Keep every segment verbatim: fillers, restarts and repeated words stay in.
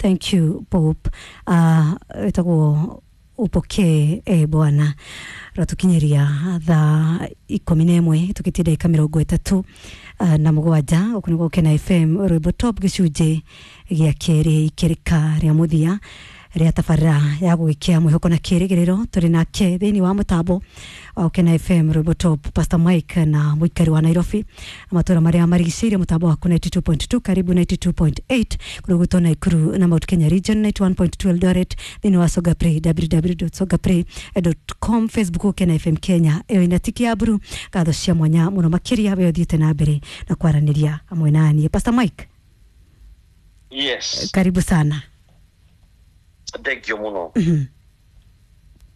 Thank you, Pope. Uh, wĩtagwo upokee e Bwana. Ratukinyiria thaa ikũmi na ĩmwe tũkĩtie ndagĩka mĩrongo ĩtatũ uh, na mũgwanja. Gũkũ nĩ Gũkena F M, rwĩmbo top, gĩcunjĩ gĩa kerĩ, ikĩrĩka rĩa mũthia rĩa tabarĩra ya gũgĩkĩa mwĩhoko na kĩrĩgĩrĩro. Tũrĩ nake thĩinĩ wa mũtambo wa Gũkena F M rwĩmbo top, Pastor Mike, na mũikari wa Nairobi na matũra marĩa marigicĩirie, mũtambo waku ninety-two point two, karibu ninety-two point eight kũrĩa gwitũ Naikuru na Mount Kenya region, ninety-one point two Eldoret, thĩinĩ wa Songa Play, w w w dot songapray dot com, Facebook Gũkena F M Kenya ĩyo ina tiki ya mburu. Ngatho cia mwanya mũno makĩria we ũthiĩte na mbere na kwaranĩria hamwe na niĩ. Pastor Mike. Yes. Karibu sana. Thank you muno. Mhm.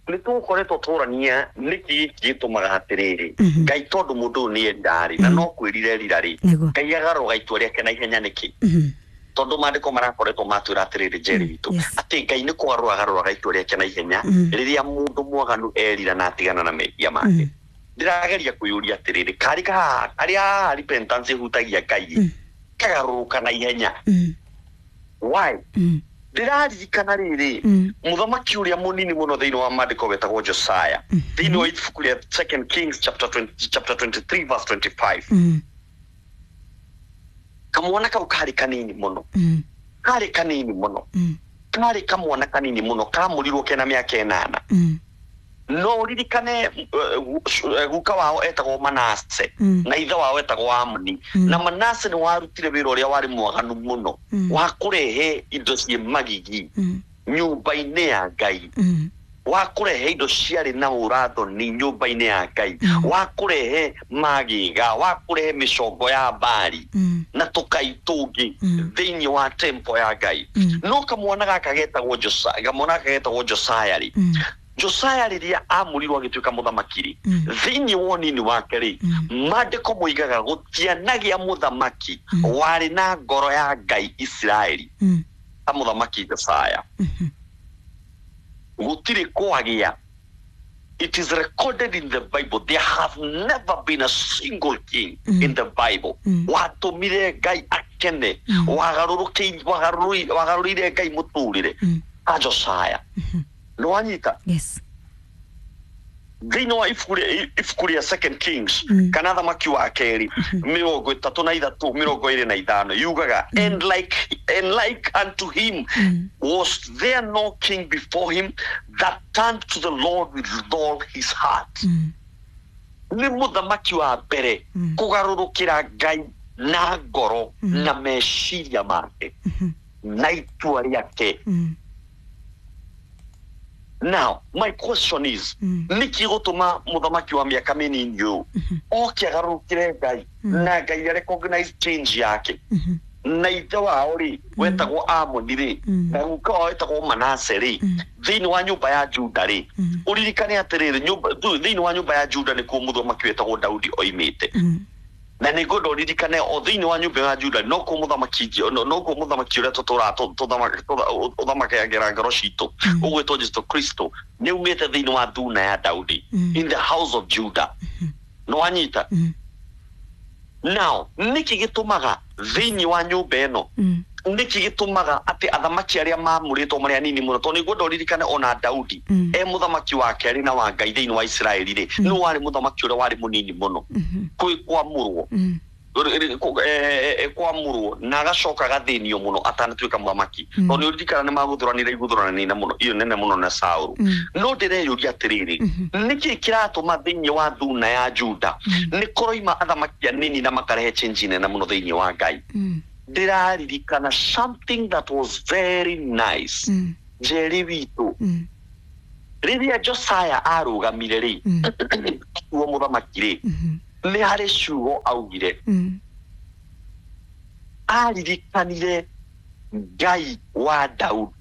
Nĩ tũgũkoretwo tũrania nĩkĩ gĩtũmaga atĩrĩrĩ Mhm. Ngai, tondũ mũndũ ũyũ nĩ endarĩ na no kwĩrire rira rĩ, Nĩguo. Ngai agarũra itua rĩake na ihenya nĩkĩ? Mhm. Tondũ maandĩko marakoretwo matwĩra atĩrĩrĩ, Njeri witũ, Yes. atĩ Ngai nĩ kũgarũra agarũraga itua rĩake na ihenya Mm. rĩrĩa mũndũ mwaganu erira na atigana na mehia make. Mm. Ndĩrageria kwĩyũria atĩrĩrĩ, karĩ kahaha karĩa haha repentance ĩhutagia Ngai Mm. kagarũrũka na ihenya, Mm. why? Mm. Ndĩraririkana rĩrĩ, Mm. mũthamaki ũrĩa mũnini mũno thĩinĩ wa maandĩko wetagwo Josiah, Mhm. thĩinĩ wa ibuku rĩa Second Kings chapter twenty, chapter twenty-three verse twenty-five. Mm. Kamwana kau karĩ kanini mũno, Mm. karĩ kanini mũno, Mm. karĩ kamwana kanini mũno, kamũrirwo kena mĩaka ĩnana. Mm. No ũririkane uh, gu- guka wao etagwo Manase Mm. na ithe wao etagwo Amoni, Mm. na Manase nĩ warutire wĩra ũrĩa warĩ mwaganu mũno Mm. wa kũrehe indo ciĩ magigi Mm. nyũmba-inĩ ya Ngai, Mm. wa kũrehe indo ciarĩ na ũrathoni nyũmba-inĩ ya Ngai, Mm. wa kũrehe magĩga, wa kũrehe mĩcongo ya mbari Mm. na tũkai tũngĩ Mm. thĩinĩ wa temple ya Ngai. Mm. No kamwana gaka getagwo Josia, kamwana gaka getagwo Josiah rĩ, Mm. Josiah rĩrĩa amũrirwo agĩtuĩka mũthamaki rĩ, Mm. thĩinĩ wa ũnini wake rĩ, Mm. maandĩko moigaga gũtianagĩa mũthamaki Mm. warĩ na ngoro ya Ngai Isiraeli Mm. ta mũthamaki Josiah. Mhm. Gũtirĩ kwagĩa. It is recorded in the Bible, there have never been a single king Mm. in the Bible Mm. watũmire Ngai akene, Mm. wagarũrũkĩire wagarũrũire wagarũrĩire Ngai mũtũrĩre Mm. ta Josiah. Mhm. Nĩwanyita? Yes. Thĩinĩ wa ibuku rĩa ibuku rĩa Second Kings, Mm. kana thamaki wa kerĩ, mĩrongo ĩtatũ na ithatũ mĩrongo ĩrĩ na ithano, yugaga, and like and like unto him Mm. was there no king before him that turned to the Lord with all his heart. Mm. Nĩ mũthamaki wa mbere Mm. kũgarũrũkĩra Ngai na ngoro Mm. na meciria make Mhm. na itua rĩake. Mm. Now my question is, Mm. nĩkĩ gũtũma mũthamaki wa mĩaka mĩnini ũyũ Mhm. oke agarũrũkĩre Ngai Mm. na Ngai recognize change yake, Mhm. na ithe wao rĩ wetagwo Amoni rĩ, Mm. na guka wao wetagwo Manase rĩ, Mm. thĩinĩ wa nyũmba ya Juda rĩ? Mm. Ũririkane atĩrĩrĩ, nyũmba thu- thĩinĩ wa nyũmba ya Juda nĩkuo mũthamaki wetagwo Daudi oimĩte. Mm. Na nĩ ngwenda ũririkane o thĩinĩ wa nyũmba ya Juda nokuo mũthamaki no- nokuo mũthamaki ũrĩa tũtũraga tũthamakagĩra ngoro citũ, Mm. ũgwĩtwo Jesu Kristo, nĩ umĩte thĩinĩ wa thuna ya Daudi, Mm. in the house of Judah. Nĩwanyita? Mm. Now nĩkĩ gĩtũmaga thĩinĩ wa nyũmba ĩno, Mm. nĩkĩ gĩtũmaga atĩ athamaki arĩa mamũrĩtwo marĩ anini mũno? Tondũ nĩngwenda ũririkane ona Daudi Mm. e mũthamaki wa kerĩ na wa Ngai thĩinĩ wa Isiraeli rĩ, Mm. nĩ warĩ mũthamaki ũrĩa warĩ mũnini mũno Mhm. kwĩ kwamũrwo, Mm. kwamũrwo na agacoka agathĩnio mũno atanatuĩka mũthamaki, Mm. tondũ nĩ ũririkana nĩ magũthũranire igũthũranire mũno iyo nene mũno na Saũlũ. Mm. No ndĩreyũria atĩrĩrĩ, Mhm. nĩkĩ kĩratũma thĩinĩ wa thuna ya Juda Mm. nĩ kũroima athamaki anini na makarehe change nene mũno thĩinĩ wa Ngai? Mm. Ndĩraririkana something that was very nice, Mm. Njeri witũ. Mm. Rĩrĩa Josiah arũgamire rĩ, Mm. uo mũthamaki rĩ, Mhm. nĩ harĩ ciugo augire. Mm. Aririkanire Ngai wa Daudi,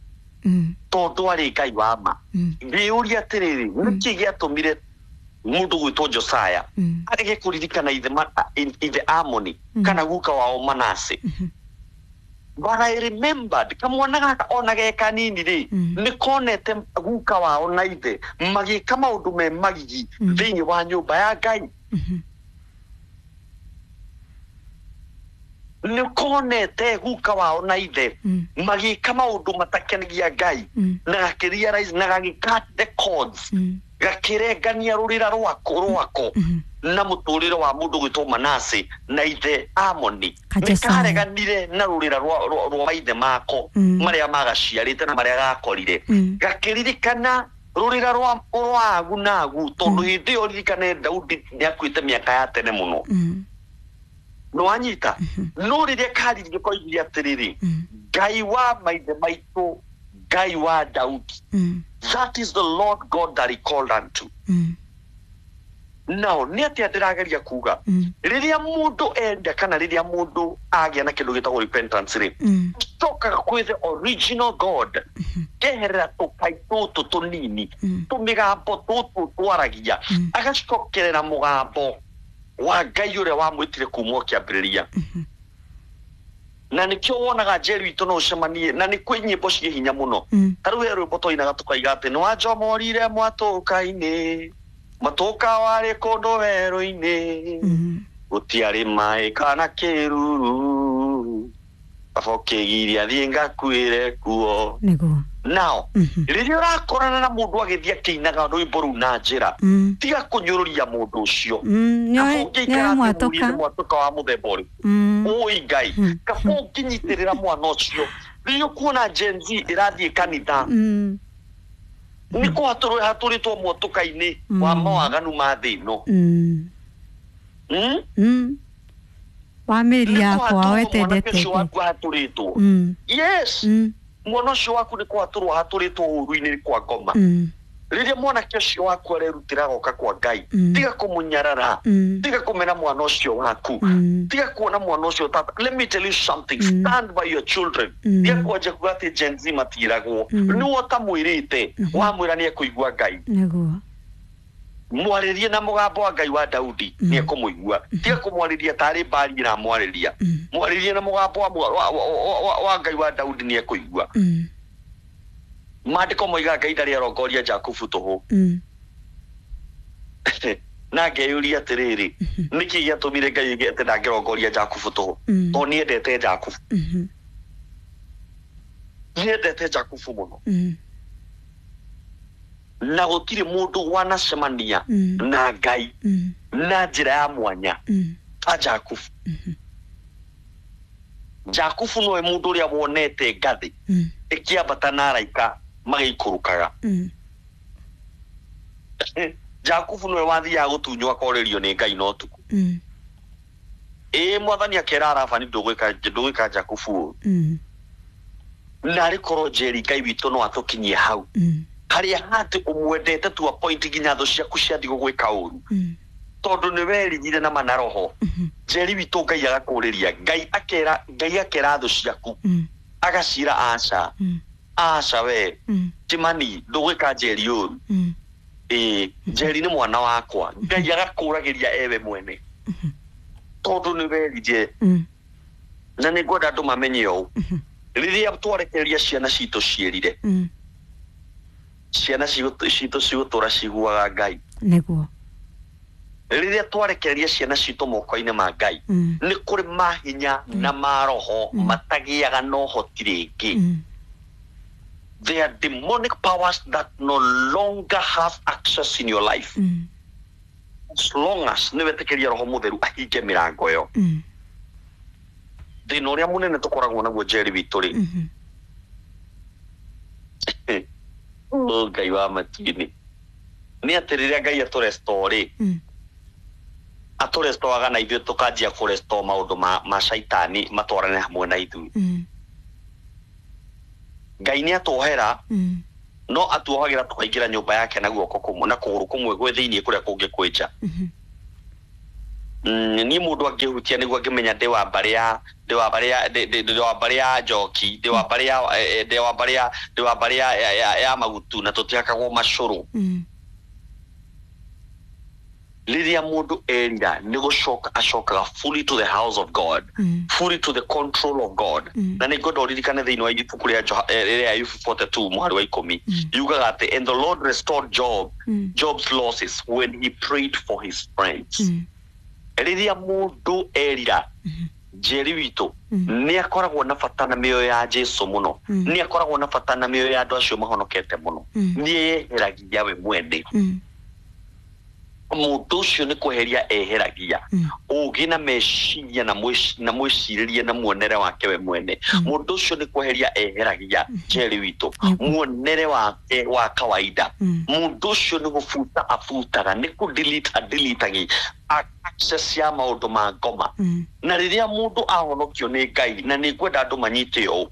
Mm. tondũ arĩ Ngai wa ma. Mm. Ngĩyũria atĩrĩrĩ, nĩkĩ gĩatũmire mũndũ gwĩtwo Josiah Mm. arege kũririkana ithe ma- ithe Amoni Mm. kana guka wao Manase? Mhm. But I remembered kamwana gaka ona ge kanini rĩ, Mm. nĩ konete guka wao na ithe magĩka maũndũ me magigi Mm. thĩinĩ wa nyũmba ya Ngai. Mhm. Nĩ konete guka wao na ithe Mm. magĩka maũndũ matakenagia Ngai Mm. na gakĩrealize na gagĩka the cords Mm. gakĩrengania rũrĩra rwako rwako Mhm. na mũtũrĩre wa mũndũ gwĩtwo Manase na ithe Amoni. Ka Nĩ Josiah. kareganire na rũrĩra rwa rwa- rwa maithe mako Mm. marĩa magaciarĩte na marĩa gakorire. Mm. Gakĩririkana rũrĩra rwa rwa agu na agu tondũ hĩndĩ ĩyo ririkane Daudi nĩ akuĩte mĩaka ya tene mũno. Mm. Nĩwanyita? No rĩrĩa karirie koigire atĩrĩrĩ, Mm. Ngai wa maithe maitũ, Ngai wa Daudi, Mm. that is the Lord God that he called unto. Mm. Now nĩ atĩa ndĩrageria kuga? Mm. Rĩrĩa mũndũ enda kana rĩrĩa mũndũ agĩa na kĩndũ gĩtagwo repentance rĩ, Mm. cokaga kwĩ the original God, keherera tũkai tũtũ tũnini, Mm. tũmĩgambo tũtũ twaragia, Mm. agacokerera mũgambo wa Ngai ũrĩa wamwĩtire kuma o kĩambĩrĩria. Na nĩkĩo wonaga Njeri witũ no ũcemanie na nĩ kwĩ nyĩmbo ciĩ hinya mũno. Mm. Ta rĩu he rwĩmbo twainaga tũkaiga atĩ nĩ wanjomorire mwatũka-inĩ, mwatũka warĩ kũndũ werũ-inĩ, Mm. gũtiarĩ maĩ kana kĩruru, baba ũkĩgiria thiĩ ngakuĩre kuo. Nĩguo. Now Mhm. rĩrĩa ũrakorana na mũndũ agĩthiĩ akĩinaga rwĩmbo rũu na njĩra, Mm. tiga kũnyũrũria mũndũ ũcio. Mm. Kaba Nĩoĩ ũngĩikara nĩoĩ atĩ mwatũka. mũrie nĩ mwatũka wa mũthemba ũrĩkũ. Mm. Ũi Ngai, Mm. kaba ũngĩnyitĩrĩra mwana ũcio. Rĩrĩa ũkuona Gen Z ĩrathiĩ kanitha, Mm. nĩ kũhatũrwo hatũrĩtwo mwatũka-inĩ wa Mm. mawaganu ma thĩ ĩno. Mm. Mm? Mm. Wa mĩri Nĩ yakwa kũhatũrwo mwanake wetendete. ũcio waku ahatũrĩtwo. Mm. Yes, Mm. mwana ũcio waku nĩ kũhatũrwo ahatũrĩtwo ũru-inĩ kwa ngoma. Mm. Rĩrĩa mwanake ũcio waku arerutĩra agoka kwa Ngai, Mm. tiga kũmũnyarara, Mm. tiga kũmena mwana ũcio waku, Mm. tiga kuona mwana ũcio tata. Let me tell you something. Mm. Stand by your children. Mm. Tiga kwanja kuga atĩ Gen Z matiragwo. Mm. Nĩwe ũtamwĩrĩte, wamwĩra nĩ ekũigua Ngai. Nĩguo. Mwarĩrie na mũgambo wa Ngai wa Daudi, Mm. nĩ ekũmũigua. Tiga kũmwarĩria tarĩ mbari ĩramwarĩria. Mm. Mwarĩrie na mũgambo wa, wa, wa, wa, wa Ngai wa Daudi, nĩ ekũigua. Mm. Maandĩko moigaga Ngai ndarĩ arongoria Jakubu tũhũ. Mm. Na ngeyũria atĩrĩrĩ, nĩkĩ gĩatũmire Ngai oige atĩ ndangĩrongoria Jakubu tũhũ? Mm. Tondũ nĩendete Jakubu. Mhm. Nĩendete Jakubu mũno. Mm. Na gũtirĩ mũndũ wanacemania Mm. na Ngai Mm. na njĩra ya mwanya Mm. ta Jakubu. Jakubu nowe mũndũ ũrĩa wonete ngathĩ Mm. ĩkĩambata na araika magĩikũrũkaga. Mm. Jakubu nowe wathiaga gũtunywo akorĩrio nĩ Ngai na ũtukũ. Mm. Ĩĩ, mwathani akera Labani ndũgwĩka ndũgwĩka Jakubu ũũ. Mm. Narĩ korwo Njeri Ngai witũ no atũkinyie hau Mm. harĩa hatĩ ũmwendete to a point nginya thũ ciaku ciathiĩ gũgwĩka ũru, Mm. tondũ nĩ werigire na mana roho. Mhm. Njeri witũ, Ngai agakũrĩria, Ngai akera Ngai akera thũ ciaku, Mm. agacira aca, Mm. aca we Mm. Kimani ndũgwĩka Njeri ũru. Mm. Ĩĩ, Njeri nĩ mwana wakwa. Ngai agakũragĩria ewe mwene tondũ nĩ werire. Mm. Na nĩ ngwenda andũ mamenye ũũ, Mhm. rĩrĩa twarekereria ciana citũ ciĩrire, Mm. ciana cigũ- citũ cigũtũra ciguaga Ngai. Nĩguo. Rĩrĩa twarekereria ciana citũ moko-inĩ ma Ngai, Mm. nĩ kũrĩ mahinya na maroho Mm. matagĩaga na ũhoti rĩngĩ. Mm. There are demonic powers that no longer have access in your life Mm. as long as nĩ wetĩkĩria roho mũtheru ahinge mĩrango ĩyo. Mm. Thĩna ũrĩa mũnene tũkoragwo naguo, Njeri witũ rĩ, Mhm. oh, Ngai wa matu-inĩ, nĩ atĩ rĩrĩa Ngai atũrestore rĩ, Mm. atũrestoaga na ithuĩ tũkanjia kũrestore maũndũ ma, ma caitani matwarane hamwe na ithuĩ. Mm. Ngai nĩ atuohera, Mm. no atuohagĩra tũkaingĩra nyũmba yake na guoko kũmwe na kũgũrũ kũmwe gwĩ thĩiniĩ kũrĩa kũngĩ kwĩ nja. Mhm. Mm, niĩ mũndũ angĩhutia nĩguo angĩmenya ndĩ wa mbarĩ ya ndĩ wa mbarĩ ya ndĩ- ndĩ ndĩ wa mbarĩ ya njoki, ndĩ wa mbarĩ ya eh, eh, ndĩ wa mbarĩ ya ndĩ wa mbarĩ ya ya, ya, ya magutu na tũtihakagwo macũrũ. Mm. Rĩrĩa mũndũ erira nĩ gũcoka acokaga fully to the house of God, Mm. fully to the control of God. Mm. Na nĩ ngwenda ũririkane thĩinĩ wa ibuku rĩa Joha- eh, rĩa Ayubu mĩrongo ĩnana na igĩrĩ mũhari wa ikũmi, Mm. yugaga atĩ and the Lord restored Job Mm. Job's losses when he prayed for his friends. Mm. Rĩrĩa mũndũ erira, Mhm. Njeri witũ nĩ akoragwo na bata na mĩoyo ya Jesu mũno, nĩ akoragwo na bata na mĩoyo ya andũ acio mahonokete mũno, nĩ eyeheragia we mwene. Mũndũ ũcio nĩ kweheria eheragia ũgĩ na meciria na mwĩcirĩrie na muonere wake we mwene. Mũndũ ũcio nĩ kweheria eheragia, Njeri witũ, muonere wake wa kawaida. Mũndũ ũcio nĩ gũbuta abutaga, nĩ kũ delete adeletagi access ya maũndũ ma ngoma. Na rĩrĩa mũndũ ahonokio nĩ Ngai, na nĩ ngwenda andũ manyite ũũ,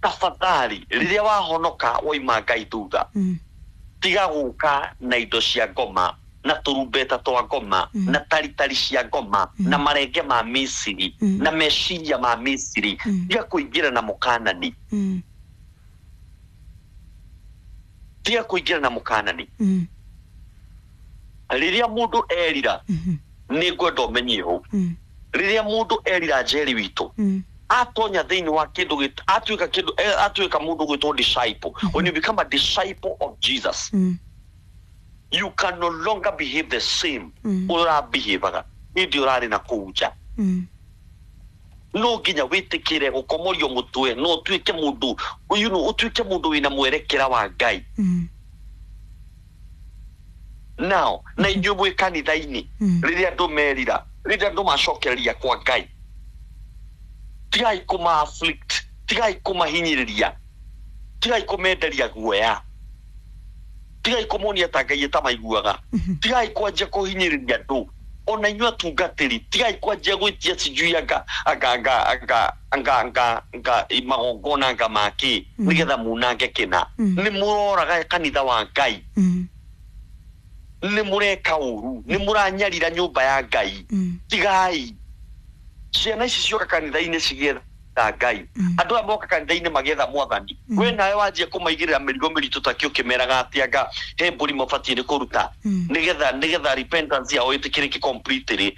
tafadhali rĩrĩa wahonoka waima Ngai thutha, tiga gũka na indo cia ngoma na tũrumbeta twa ngoma na taritari cia ngoma na marenge ma Misiri na meciria ma Misiri. Tiga kũingĩra na mũkanani, tiga kũingĩra na mũkanani. Rĩrĩa mũndũ erira, nĩ ngwenda ũmenye ũũ, rĩrĩa mũndũ erira, Njeri witũ, atonya thĩinĩ wa kĩndũ, atuĩka kĩndũ, atuĩka mũndũ gwĩtwo disciple. When you become a disciple of Jesus, you can no longer behave the same ũrabehavaga hĩndĩ ũrarĩ na kũu nja. No nginya wĩtĩkĩre gũkomorio mũtwe, no ũtuĩke mũndũ, you know, ũtuĩke mũndũ wĩna mwerekera wa Ngai. Now, na inyuĩ mwĩ kanitha-inĩ, rĩrĩa andũ merira, rĩrĩa andũ macokereria kwa Ngai, tigai kũma afflict, tigai kũmahinyĩrĩria, tigai kũmenderia guoya, tigai kũmonia ta Ngai ĩtamaiguaga, tigai kwanjia kũhinyĩrĩria andũ. Ona inyuĩ atungatĩri, tigai kwanjia gwĩtia sijui anga anga anga anga anga anga anga magongona anga makĩ nĩgetha munange kĩna. Nĩ mũroraga kanitha wa Ngai, nĩ mũreka ũru, nĩ mũranyarira nyũmba ya Ngai. Tigai. Ciana ici cioka kanitha-inĩ cigetha Ngai, andũ aya moka kanitha-inĩ magetha mwathani, we nawe wanjia kũmaigĩrĩra mĩrigo mĩritũ ta kĩ ũkĩmeraga atĩ anga he mbũri mabatiĩ nĩ kũruta nĩgetha nĩgetha repentance yao ĩtĩkĩrĩke completely,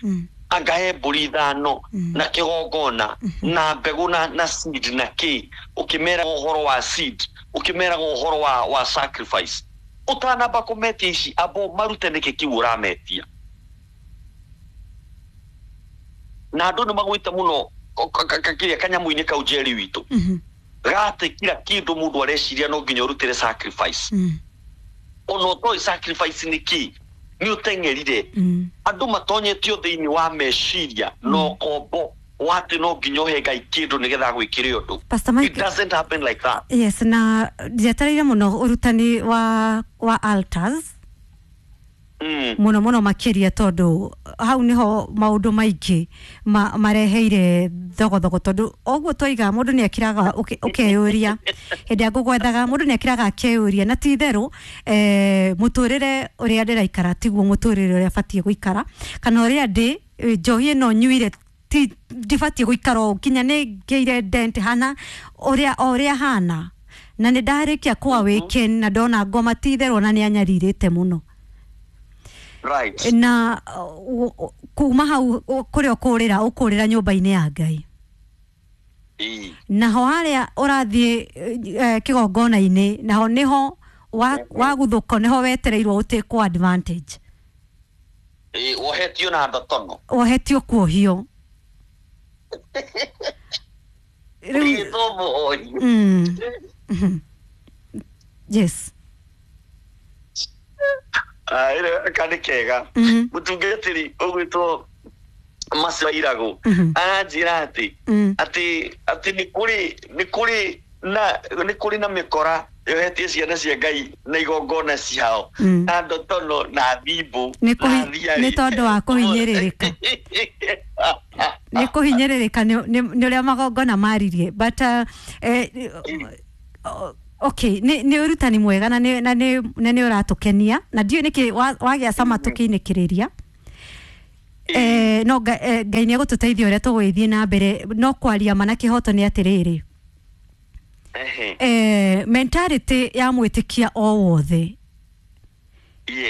anga he mbũri ithano na kĩgongona na mbegũ na na seed na kĩ, ũkĩmeraga ũhoro wa seed, ũkĩmeraga ũhoro wa wa sacrifice. Ũtanamba kũmetia ici, amba marute nĩkĩ kĩu ũrametia. Na andũ nĩ magwĩte mũno kĩrĩa kanyamũ-inĩ kau, Njeri witũ, gatĩ kila kĩndũ mũndũ areciria no nginya ũrutĩre sacrifice. Ona ũtoĩ sacrifice nĩ kĩ, nĩ ũteng'erire. Andũ matonyetio thĩinĩ wa meciria na ũkombo wa atĩ no nginya ũhe Ngai kĩndũ nĩgetha agwĩkĩre ũndũ. Pastor Mike, it doesn't happen like that. Yes, na njetereire mũno ũrutani wa wa altars mũno mũno makĩria, tondũ hau nĩho maũndũ maingĩ ma, mareheire thogothogo, tondũ ũguo twaiga mũndũ nĩ akiraga ũkeyũria hĩndĩ ya ngũgwethaga, mũndũ nĩ akiraga akeyũria, na ti itherũ eh, mũtũrĩre ũrĩa ndĩraikara tiguo mũtũrĩre ũrĩa batiĩ gũikara, kana ũrĩa ndĩ njohi ĩno nyuire ti ndibatiĩ gũikara ũũ nginya nĩ ngĩire dent hana ũrĩa o ũrĩa hana, na nĩ ndarĩkia kwa wĩken na ndona ngoma ti itherũ ona nĩ anyarirĩte mũno. Right. Na kuma hau kũrĩa ũkũrĩra ũkũrĩra nyũmba-inĩ ya Ngai. Naho harĩa ũrathiĩ kĩgongona-inĩ, naho nĩho waguthũko, nĩho wetereirwo ũtĩkwo advantage. Wohetio na ndotono. Wohetio kuohio. Yes. Aka nĩ kega mũtungatĩri ũgwĩtwo Macio Iragũ aranjĩra atĩ atĩ atĩ nĩ kũrĩ nĩ kũrĩ na nĩ kũrĩ na mĩkora yohetie ciana cia Ngai na igongona ciao na ndotono na thimbũ nĩ tondũ wa kũhinyĩrĩrĩka, nĩ kũhinyĩrĩrĩka nĩ ũrĩa magongona maririe. But okay, nĩ nĩ ũrutani mwega na nĩ na nĩ na nĩ ũratũkenia, na ndiũĩ nĩkĩ wagĩa cama tũkĩinĩkĩrĩria. Eh, no Ngai nĩ egũtũteithia ũrĩa tũgũgĩthiĩ na mbere, no kwaria ma na kĩhoto nĩ atĩrĩrĩ, eh, mentality ya mwĩtĩkia o wothe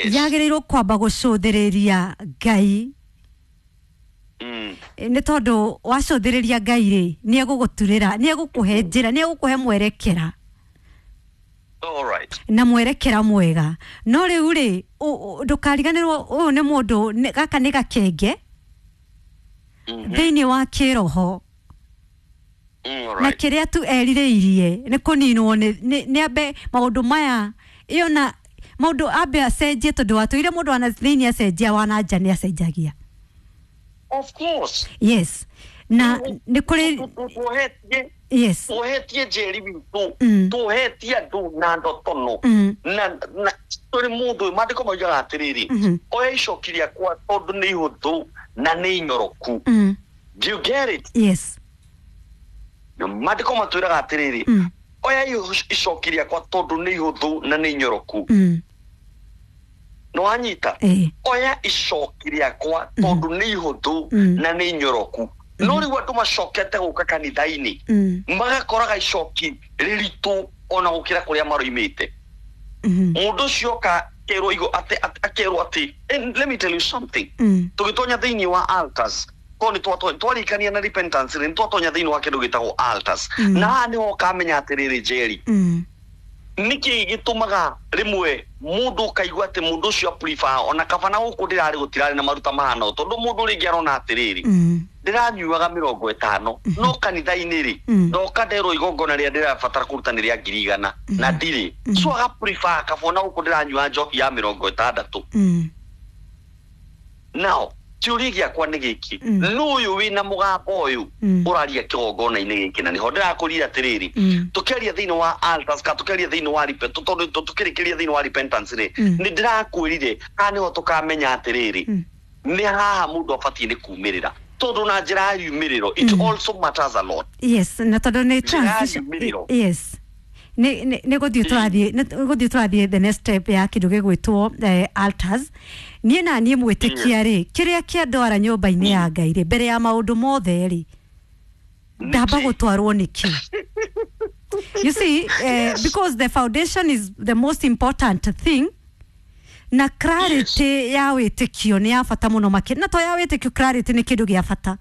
yagĩrĩirwo kwamba gũcũthĩrĩria Ngai. Nĩ tondũ wacũthĩrĩria Ngai rĩ, nĩ egũgũturĩra, nĩ egũkũhe njĩra, nĩ egũkũhe mwerekera. All right. Na mwerekera mwega. No rĩu rĩ, ndũkariganĩrwo ũyũ nĩ mũndũ, gaka nĩ gakenge. Thĩinĩ wa kĩroho na kĩrĩa tu erirĩirie nĩ kũninwo nĩ ambe maũndũ maya ĩyo na maũndũ ambe acenjie tondũ watũire mũndũ wana thĩinĩ acenjia wana nja nĩ acenjagia. Of course. Yes. Na nĩ kũrĩ yes tuhetie njeri witũ tuhetie andũ na ndotono na na tũrĩ mũndũ maandĩko maugaga atĩrĩrĩ oya icoki rĩakwa tondũ nĩ ihũthũ na nĩ inyoroku. Do you get it? Yes. Maandĩko matwĩraga atĩrĩrĩ oya icoki rĩakwa tondũ nĩ ihũthũ na nĩ inyoroku. No wanyita? Oya icoki rĩakwa tondũ nĩ ihũthũ na nĩ inyoroku. No rĩu andũ macokete gũka kanitha-inĩ magakoraga icoki rĩritũ ona gũkĩra kũrĩa maroimĩte. Mũndũ ũcio oka akerwo igo atĩ akerwo atĩ and let me tell you something. Tũgĩtonya thĩinĩ wa altars ko nĩ twarikania na repentance nĩ twatonya thĩinĩ wa kĩndũ gĩtagwo altars na haha nĩho ũkamenya atĩrĩrĩ Njeri nĩkĩ gĩtũmaga rĩmwe mũndũ ũkaigua atĩ mũndũ ũcio prefer ona kaba na gũkũ ndĩrarĩ gũtirarĩ na maruta mahana tondũ mũndũ rĩngĩ arona atĩrĩrĩ ndĩranyuaga mĩrongo ĩtano no kanitha-inĩ rĩ ndoka nderwo igongona rĩrĩa ndĩrabatara kũruta nĩ rĩa ngiri igana na ndirĩ so aga prefer kaba ona gũkũ ndĩranyua njohi ya mĩrongo ĩtandatũ. Now kĩũria gĩakwa nĩ gĩkĩ nũ ũyũ wĩna mũgambo ũyũ ũraria kĩgongona-inĩ gĩkĩ na nĩho ndĩrakũria atĩrĩrĩ tũkĩaria thĩinĩ wa altars ka tũkĩaria thĩinĩ wa tondũ tũkĩrĩkĩria thĩinĩ wa repentance rĩ nĩ ndĩrakwĩrire haha nĩho tũkamenya atĩrĩrĩ nĩ haha mũndũ abatiĩ nĩ kumĩrĩra tondũ na njĩra ya yumĩrĩro it also matters a lot. Yes, na tondũ nĩ transition. Yes. Nĩ nĩ gũthiĩ tũrathiĩ nĩ gũthiĩ tũrathiĩ the next step ya kĩndũ gĩgwĩtwo altars. Niĩ na niĩ mwĩtĩkia rĩ kĩrĩa kĩandwara nyũmba-inĩ ya Ngai rĩ mbere ya maũndũ mothe rĩ ndamba gũtwarwo nĩkĩ? You see, uh, because the foundation is the most important thing na clarity ya wĩtĩkio nĩ ya bata mũno makĩria na to ya wĩtĩkio clarity nĩ kĩndũ gĩa bata.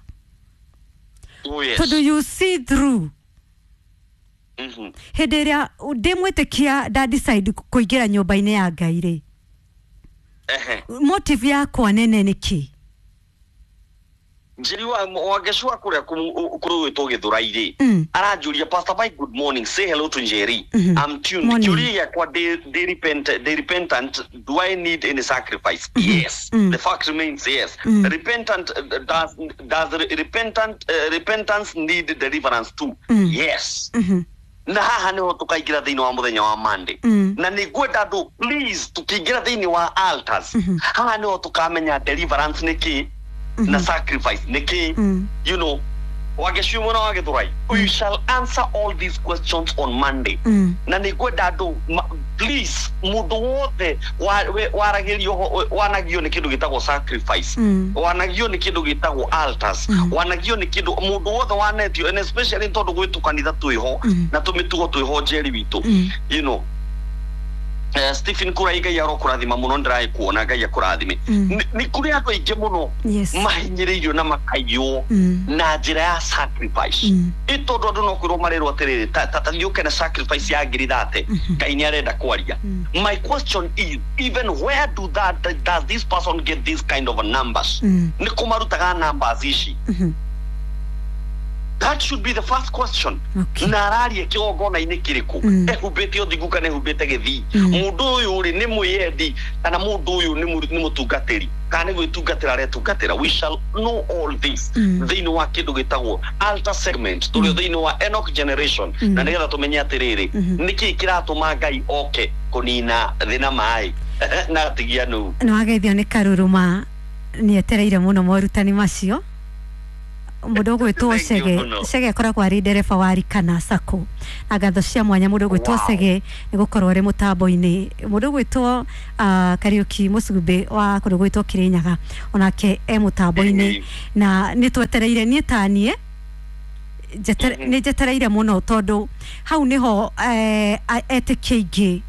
Oh, yes. Tondũ you see through hĩndĩ ĩrĩa ndĩ mwĩtĩkia nda decide kũingĩra nyũmba-inĩ ya Ngai rĩ motive yakwa nene nĩ kĩ? Njeri wa wangecua kũrĩa kũrũĩtwo Gĩthũrai rĩ aranjũria Pastor Mike, good morning, say hello to Njeri. I'm tuned. Kĩũria gĩakwa ndĩ repent ndĩ repentant, do I need any sacrifice? Yes. The fact remains yes. Repentant does does repentant uh, repentance need deliverance too? Yes. Na haha niho tukaingĩra thĩinĩ wa mũthenya wa Monday na nĩ ngwenda andũ please tukĩingĩra thĩinĩ wa altars haha niho tukamenya deliverance nĩ kĩ na sacrifice nĩ kĩ. You know wageciu mũno wa Gĩthũrai, we shall answer all these questions on Monday. Na nĩ ngwenda andũ please mũndũ wothe waragĩrio wanagio nĩ kĩndũ gĩtagwo sacrifice wanagio nĩ kĩndũ gĩtagwo altars wanagio nĩ kĩndũ mũndũ wothe wanetio and especially tondũ gwĩ tũkanitha twĩho na tũmĩtugo twĩho Njeri witũ. You know Uh, Stephen Kurai Ngai arokũrathima mũno ndĩraĩ kuona Ngai akũrathime. Nĩ kũrĩ andũ aingĩ mũno mahinyĩrĩirio na makaiywo na njĩra ya sacrifice ĩ tondũ andũ no kwĩrwo marerwo atĩrĩrĩ ta thiĩ na sacrifice ya ngiri thate Ngai nĩ arenda kwaria. My question is even where do that does this person get this kind of numbers? Nĩ kũ marutaga numbers ici? That should be the first question. Na araria kĩgongona-inĩ kĩrĩkũ ehumbĩte ũthingu kana ehumbĩte gĩthii mũndũ ũyũ rĩ nĩ mwĩyendi kana mũndũ ũyũ nĩ mũtungatĩri kana nĩ gwĩtungatĩra aretungatĩra. We shall know all this thĩinĩ wa kĩndũ gĩtagwo altar segment tũrĩ thĩinĩ wa Enoch generation na nĩgetha tũmenye atĩrĩrĩ nĩkĩĩ kĩratũma Ngai oke kũnina thĩ na maĩ na atigia nũ. Nĩ wageithio nĩ Karuruma nĩetereire mũno morutani macio. Mũndũ ũgwĩtwo Chege Chege akoragwo arĩ ndereba wa Rikana Sacco na ngatho cia mwanya mũndũ ũgwĩtwo Chege nĩ gũkorwo arĩ mũtambo-inĩ. Mũndũ ũgwĩtwo Kariũki Mũcumbĩ wa kũndũ gwĩtwo Kĩrĩnyaga onake e mũtambo-inĩ na nĩ twetereire niĩ ta niĩ nĩ njetereire mũno tondũ hau nĩho etĩkia aingĩ